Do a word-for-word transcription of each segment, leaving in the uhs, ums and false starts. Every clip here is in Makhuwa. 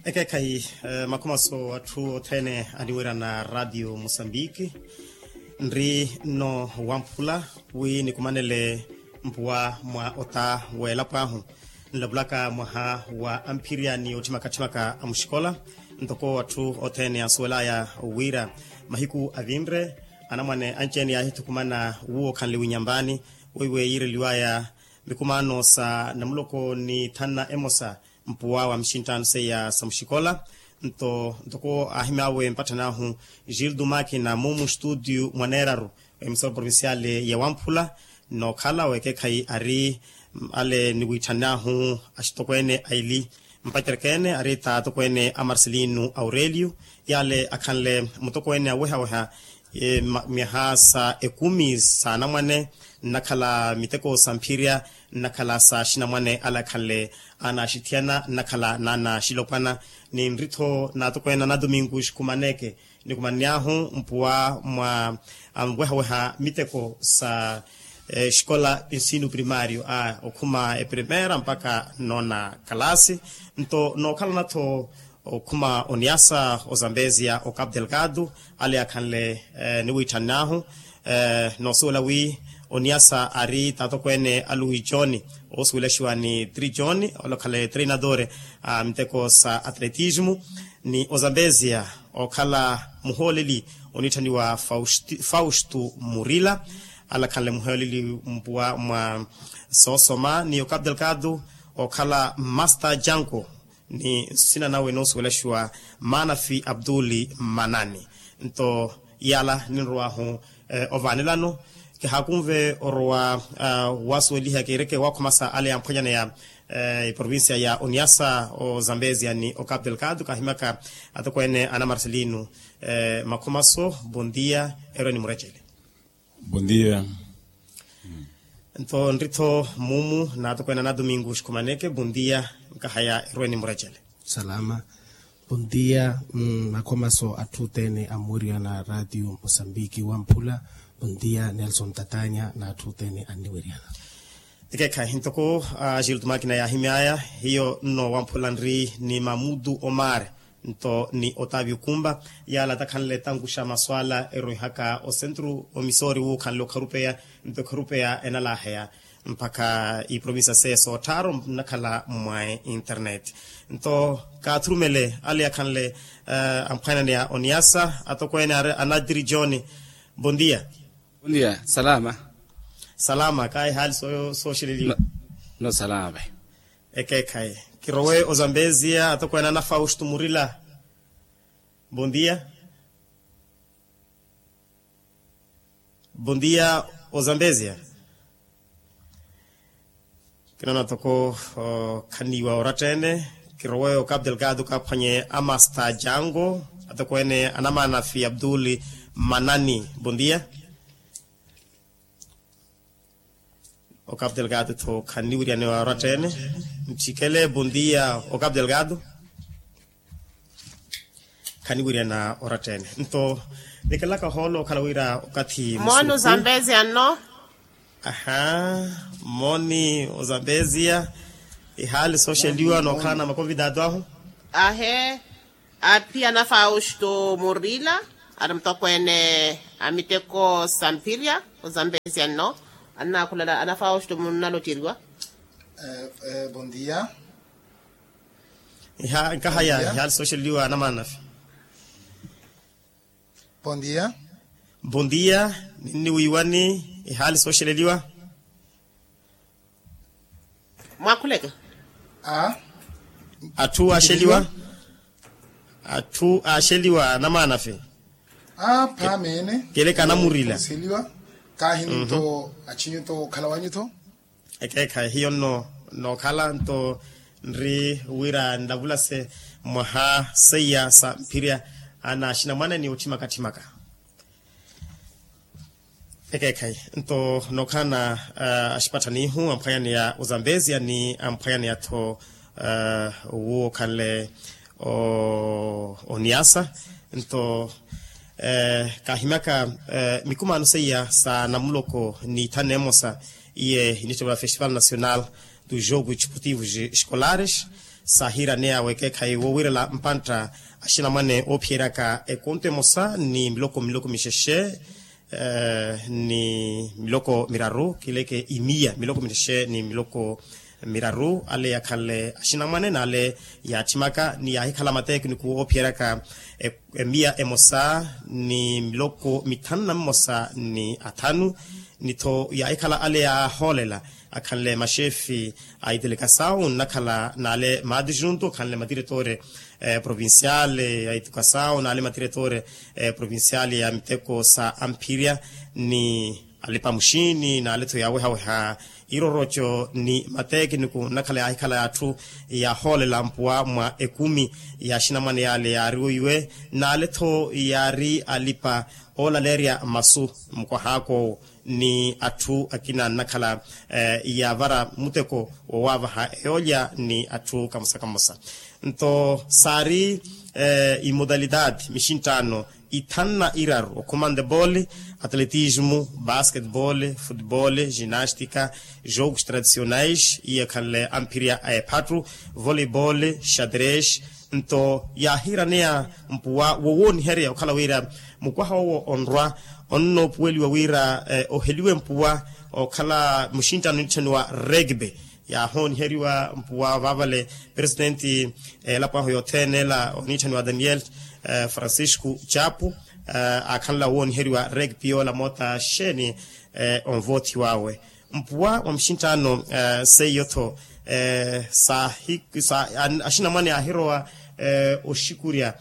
Ekeekhayi, makhumaso atthu othene aniwirana ratio mosambiki. Nri nno wamphula wi nikumanele mpuwa mwa ota w'elapo ahu, nlapulaka mwaha wa amphirya ni otthimaka-tthimaka a muxikola. Ntoko atthu othene ansuwel'aya wira mahiku avinre anamwane anci-ene yaahithukumana wuwo okhanle winyambaani weiwe yiireliw'aya mikumaano sa namuloko ni thanna emosa mpuwa wa mixinttaano seiya sa muxikola. Nto ntoko aahimy'awe mpatthani ahu gildo makina mumu studio mwaneeraru, emisora provinciale ya wamphula. Nookhala wekeekhayi ari ale niwiitthani ahu axitokweene aili mpacereke-ene ari t'atokweene a marcelino aurelio, yale akhanle mutokweene aweha-weha myaha sa ekumi sa anamwane nnakhala miteko sa mphirya nnakhala sa axinamwane ale akhanle anaxithiyana nnakhala n'anaxilopwana. Ninri-tho n'atokweene ana domingo xikhumaneke nikumanny'ahu mpuwa mwa anweha-weha miteko sa exikola ensino primario a okhuma eprimera mpakha nnoona kalasi. Nto nookhalana-tho okhuma oniasa ozambezia ocapu delgado ale akhanle niwiitthani ahu noosuwela wi oniasa ari t'atokweene a luwi john oosuwelaxiwa ni tri john ole okhale treinadore a miteko sa atletismo ni ozambezia okhala muhooleli oniitthaniwa fausto murila ale akhanle muhooleli mpuwa mwa soosoma ni ocapu delgado okhala master janko ni nsina nawe noosuwelaxiwa manafi abduli manani. Nto yala ninrow'ahu ovaanelano kihaakunve orowa wasuweliha kiireke wakhumasa ale yamphwanyaneya eprovincia ya oniasa ozambezia ni ocapu delgado kaahimyaka atokweene ana marcelino makhumaso bondia erwe ni murecele. Bondia. Nto nri-tho mumu n'atokweene ana domingo xikhumaneke bondia nkahaya erwe ni murecele. Salama. Bondia. Makhomaso atthu othene amuwiriyana ratio mosambiki wamphula. Bondia nelson tatanya n'atthu othene anniwiriyana. Ekeekhayi ntoko a gildo makina yaahimy'aya hiyo nno wamphula nri ni mamudu omar nto ni otavio kumba yala takhanle tankuxa maswala erowihaka osentru omisori wuukhanle okharupeya nto ekharupeya enalaheya mpakha iprovinsia seiya soottharu nnakhala mwa internet. Nto kaathurumele ale akhanle amphwananeya oniasa atokweene anatiri john. Bondia. Bondia. Salama. Salama kaayi haali sooxeleliwa? No salama. Ekeekhayi kirowe ozambezia atokweene ana fausto murila. Bondia. Bondia. Ozambezia. Kinoona toko khaniiwa oratta-ene. Kirowe ocapu delgado kaaphwanye amasta jango atokweene anamanafi abduli manani. Bondia. Ocapu delgado tho khanniwiriyaniwa oratta-ene. Nthikele bondia ocapu delgado. Khaniwiriyana oratta-ene nto nikelaka ohoolo okhala wira okathi mooni ozambezia nno. Aha. Mooni ozambezia. Ihaali sooxeliwa nookhalana makonvidado ahu. Ahe. Aphiya na fausto murila. Ari mutokweene a miteko sa mphirya ozambezia nno. Annaakhulala ana fausto munnalottiriwa. Bondia. Nkahaya ihaali sooxeleliwa anamanafi. Bondia. Bondia. Ninniwiiwani ihaali sooxeleliwa. Mwakhuleke. Atthu aaxeliwa. Atthu aaxeliwa anamanafi. Phameene. Keleka anamurila. Kaahi nto achinyu to okhala wanyu tho. Ekeekhayi hiyo nno nookhala nto nri wira nlavulase mwaha seiya sa mphirya ana axinamwane ni otthimaka-tthimaka. Ekeekhayi nto nookhalana axipatthani ihu amphwanyaneya ozambezia ni amphwanyaneya-tho wuwo okhanle oniasa nto kaahimyaka mikumaano seiya sa namuloko ni thanu emosa iye initthiwa festival nacional dos jogos desportivos escolares. Saahiiraneya wekeekhayi woowirela mpantta axinamwane oophiyeryaka ekonto emosa ni miloko miloko mixexe ni miloko miraru kileke imiya miloko mixexe ni miloko miraru ale yakhanle axinamwane n'ale yaatthimaka ni yaahikhala matekiniku oophiyeryaka emiya emosa ni miloko mithanu na mmosa ni athanu. Ni-tho yaahikhala ale yaahoolela akhanle maxefi a itilikasawu nnakhala n'ale maatijuntu akhanle matiretore provinciale a itilikasawu n'ale matiretore provinciale a miteko sa amphirya ni alipa muxiini n'ale-tho yaawehaweha iroroco ni matekiniku nnakhala yaahikhala atthu yaahoolela mpuwa mwa ekumi ya axinamwane y'ale yaari weiwe n'ale-tho yaari alipa oolaleerya masu mukwahaak'owo ni atthu akina nnakhala yaavara muteko wowaavaha eyoolya ni atthu kamosa kamosa. Nto saari imodalidade mixinttaano ithanu na iraru okhuma handebole, atletismo, basketbole, futebole, ginastika, jogos tradicionais iya ekhanle amphirya a ephattu, voleibole, xadres. Nto yaahiiraneya mpuwa wowooniherya okhala wira mukwaha owo onrwa onnoopuweliwa wira oheliwe mpuwa okhala muxinttaano onitthanniwa regbe. Yaahooniheriwa mpuwa vaavale presidenti elapo ahu yothene ela oniitthaniwa daniel francisco chapu aakhanla wooniheriwa rekpi yoola moota xeeni onvoothiw'awe mpuwa wa muxinttaano seiyo-tho axinamwane aahirowa oxikurya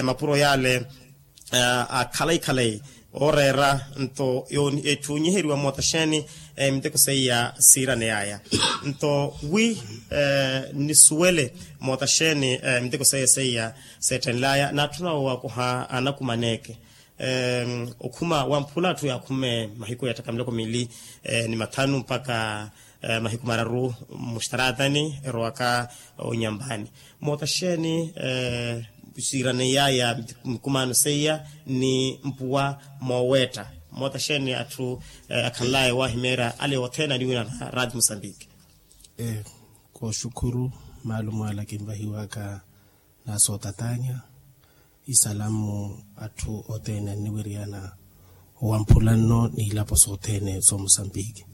mapuro yaale akhalayi khalayi ooreera nto etthu onyiheriwa moota xeeni miteko seiya siiraney'aya nto wi nisuwele moota xeeni miteko seiya seiya seettenl'aya naatthuna woowakoha anakumaneeke okhuma wamphula atthu yaakhume mahiku ya ttakha miloko miili ni mathanu mpakha mahiku mararu muxtaraatani erowaka onyampani moota xeeni siiraney'aya mikumaano seiya ni mpuwa mooweetta moota xeeni atthu akhanl'aya owaahimeerya ale othene aniwina na raati musambiki. Kooxukhuru maalumu ala kinvahiwaka na sootatanya isalamu atthu othene anniwiriyana owamphula nno n'ilapo sothene somusambiki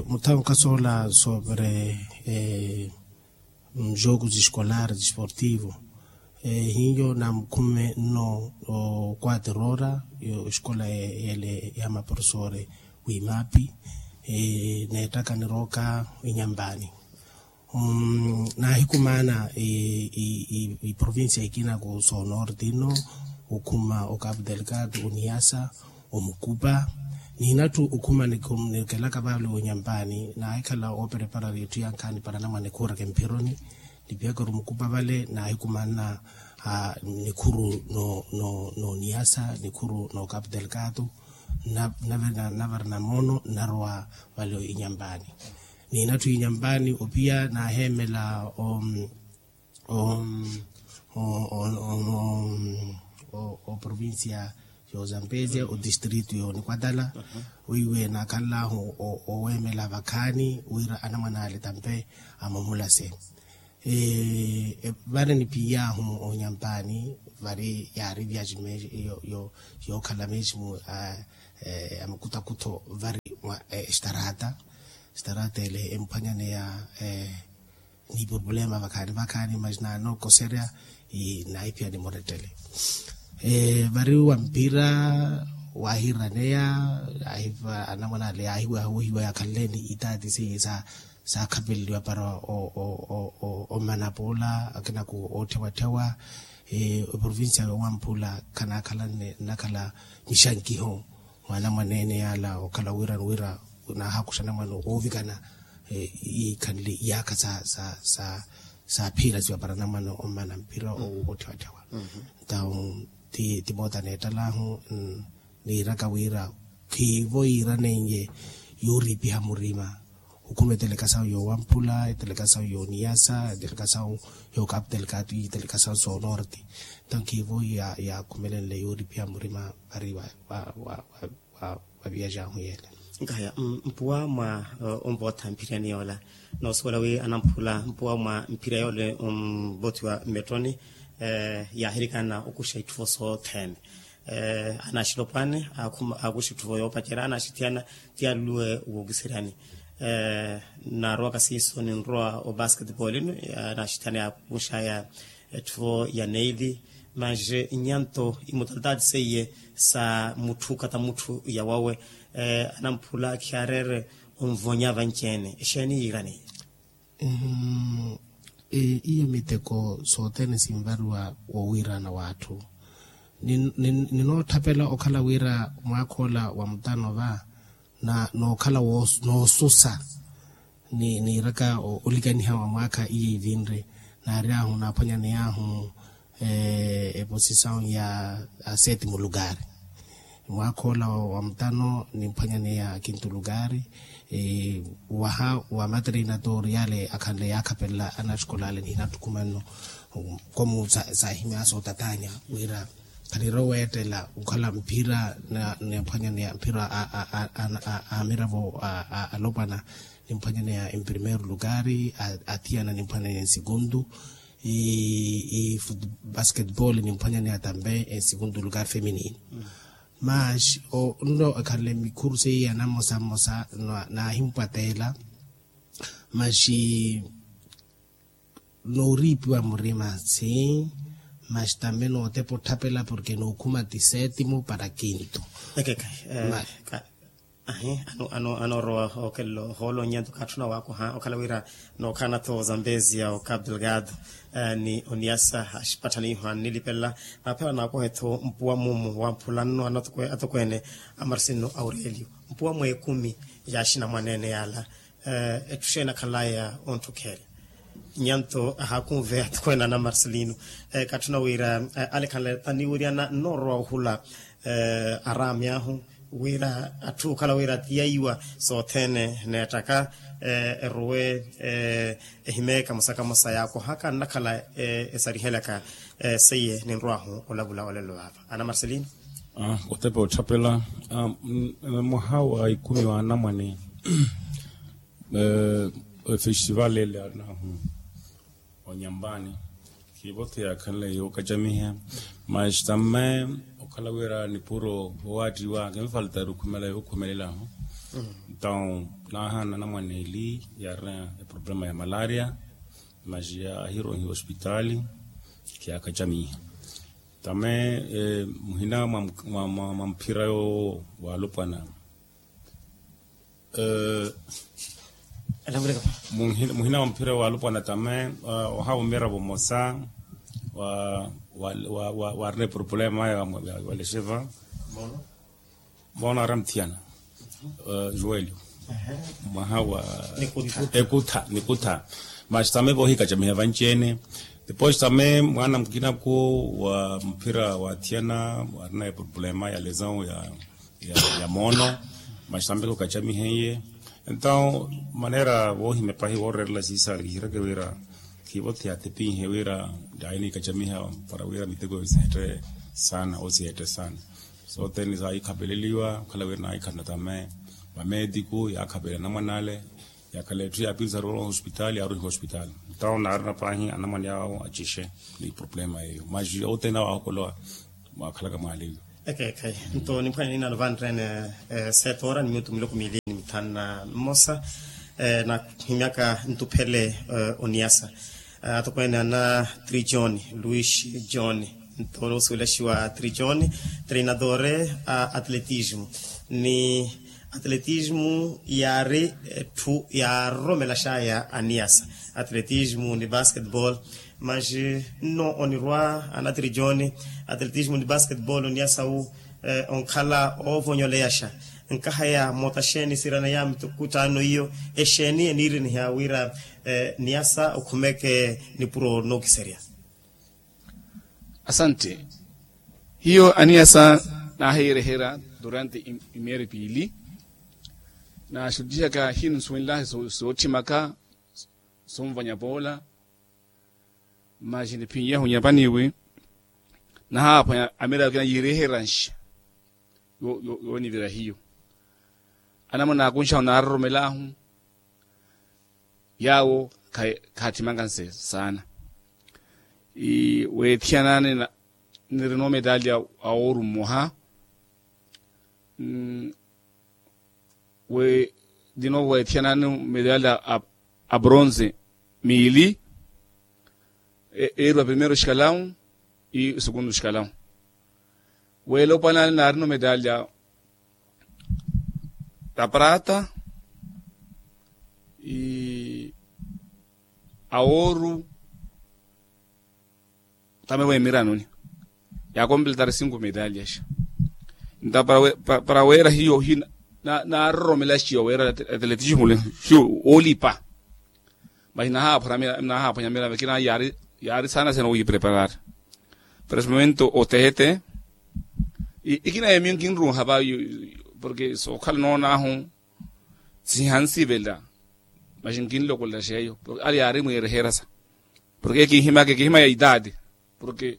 muthamu kasoola soovere jogos escolares desportivo hiyo namukhume nno oquater hora escola yele ya maprofesore w'imapi neettaka nirooka inyampani naahikumaana iprovincia ikina ku sonorte ino okhuma ocapo delgado oniasa omukupa niinattu okhuma nikelaka vale onyampani naahikhala oopereparari etthu yankhaani para namwane khuuraka emphironi nipihaka ori omukupa vale naahikumaana nikhuru n'oniasa nikhuru n'ocapo delgado navara namoono nnarowa vale inyampani niinattu inyampani opiya naaheemela oprovincia y'ozambesia otistrito y'onikwatala weiwe naakhanl'ahu oweemela vakhaani wira anamwane ale tampe amumulase vari nipiy'ahu onyampani vari yaari viaji meji yookhala meji mu a makutakutho vari mwa estarata estarata ele emuphwanyaneya ni problema vakhaani vakhaani mas naanookoserya naahiphiyani murettele vari wa mpira waahiiraneya anamwane ale yaahiweha wohiwa yaakhanle ni itaati seiye sa saakhapeleliwa para omana poola akina ku ootthewatthawa eprovincia yoowamphula khanaakhala nnakhala mixankiho mwaana mwaneene yaala okhala wira wira naahakuxa namwane oovikana iikhanle iyaakha sa sa saaphiirasiwa para namwane omana mphira ootthewatthawa ntawu ti moota neettalaahu niiraka wira khiivo yiiraneiye yooriipiha murima okhuma etelekasawu yoowamphula etelekasawu yooniyasa etelekasawu yookapu telekatu iitelekasawu soonorte nto khiivo yaakhumelenle yooriipiha murima vari wa wa wa wa wa viyajahu yeele Nkahaya mpuwa mwa onvootha mphiriyani yoola, noosuwela wi anamphula mpuwa mwa mphira yoola omvoothiwa mmettoni. Yaahirikana okuxa itthuvo sothene. Anaxilopwaani aakuxa itthuvo yoopacerya anaxithiyana. Ti aluwe wookiseryani. Naarowaka siiso ninrowa obasketball ino. Anaxithiyana yaakuxaya etthuvo ya neili. Masi nyanto imutalitaati seiye sa mutthu kata mutthu yawawe. Anamphula khiyaareere onvonya vanci-ene exeeni yiirani? Iyo miteko sothene sinvariwa wowiirana w'atthu. Ninootthapela okhala wira mwaakha ola wa mutano va nookhala noosusa. Niiraka olikaniha wa mwaakha iyo ivinre naari ahu naaphwanyaney'ahu eposisawu ya seti mulukari. Mwaakha ola wa mutano nimphwanyaneya kintu lukari. Waha wa matreinador yale akhanle yaakhapelela anaxikola ale ni inattukhuma nno. Komu saahimya sootatanya wira khanirowa weettela okhala mphira. Nimphwanyaneya mphira a amiravo alopwana. Nimphwanyaneya emprimeiro lukari athiyana nimphwanyaneya ensikundu. Basketball nimphwanyaneya tambe ensikundu lukari feminino. Mas nno ekhanle mikhuru seiye ya namosa mmosa naahimpwateela. Mas nooriipiwa murima si mas tambe nootepa otthapela porke nookhuma ti setimo para kinto. Ekekhayi. Ahi. Anoorowa okelelo hoolonnya nto kaatthuna waakoha okhala wira nookhaana-tho ozambezia okapu delgado ni oniyasa axipatthani iho annilipelela. Naaphela naakohe-tho mpuwa mumu wamphula nno anatokweene a marcino aurelio mpuwa mweekumi ya axinamwaneene yaala. Etthu xeeni akhanlaya ontthukherya? Nyanto ahaakunveya atokweene ana marcelino. Katthuna wira alekhanle taniwiriyana nnoorowa ohula araami ahu wira atthu okhala wira tiyaiwa sothene neettaka erowe ehimeka musaka musa yaakohaka nnakhala esarihelaka. Seiye ninrwahu olavula olelo vaava ana marcelino. Otepa otthapela mwaha wa ikumi wa anamwane efestival ele anahu onyambani khivote yaakhanle yookacamiha. Mas tambe okhala wira nipuro owaattiwa kinfaltari okhumela yookhumelelaho. Nton naahaana anamwane eli yaarina eproblema ya malaria mas yaahiroihiwa ospitali. Khiyaakacamiha tambe muhina mwa mphira yoowo waalopwana. Muhina wa mphira waalopwana tambe ohawa omiravo mmosa waarina eproblema ya walexeva. Moona ari amuthiyana joelio mwaha wa ekutha nikutha. Mas tambe voohikacamiha vanci-ene. Depois tambe mwaana mukinaku wa mphira waathiyana waarina eproblema ya lesawu ya moono. Mas tambe khukacamiha iye. Entawu maneera voohimya pahi woorerela siisa kihireke wira khivote yaatepinhe wira yaahinikacamiha para wira miteko siheette saana owo siheette saana. Sothene saahikhapeleliwa okhala wira naahikhana tambe vameetiku yaakhapelela anamwane ale. Yaakhala etthu yaapinsa arowa ohospitali yaaruhiwa ospitali. Ntawo naarina paahi anamwane awo acixe ni problema yeeyo mas othene awo aahokolowa mwaakhalaka mwaaleyo. Ekeekhayi nto nimphwanya ninaano vanreene seeta ora ni minutu miloko miili ni mithanu na mmosa. Naahimyaka ntuphele oniyasa atokweene ana trijoni luis joni nto noosuwelaxiwa trijoni treinadore a atletismo ni atletismo yaari etthu yaaroromelaxaya aniyasa. Atletismo ni basketball mas nno onirwa ana trijoni atletismo ni basketball oniyasawu onkhala oovonyoleyaxa. Nkahaya moota xeeni sirana yaami tokutano iyo exeeni eniiriniha wira niyasa okhumeke nipuro nookiserya? Asante. Hiyo aniyasa naahiyereherya durante imieri piili naaxuttihaka hino nsuwenlahe sootthimaka sonvanya poola. Masi niphinyeho nyapaniwi nahaaphwanya amiraka kina yiireheranxa yoonivira hiyo. anamuna akunxahu naaroromelaahu. Yaawo khaatthimaka nse saana. Weethiyanani nirina omedalya a ooru mmoha. Wi dino weethiyanani medalya a bronze miili. Eeruwa primeiro xikalawu i segundo xikalawu. Weela opwanani naarina omedalya a prata a ooru. Tame weemiranoni yaakompletar cinco medalyaxa. Nta para weera hiyo hi naaroromela xiyo weera atletismo le hiyo woolipa. Maxi nahaaphwanya mira vekina yaari saana sena wiipreparar. Para esse momento otehete ikina yemiyo nkinruuha va. Porke sookhala noonaahu sihansivelela. Maxi nkinlokolela xeeyo porke ale yaari mwiireherasa. Porke kihimaka kihima ya itaati porke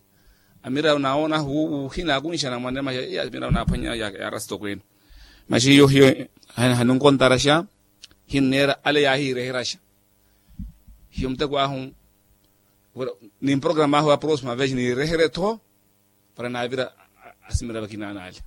amira naawona wuuhina akunxana mwanne maxi amira naaphwanya yaarasi tokweene. Maxi hiyo hiyo haninkontaraxa. Hinneera ale yaahiireheraxa. Hiyo muteko ahu nimprograma ahu a próxima vez niirehere-tho. Para naavira asimira vakina n'ale.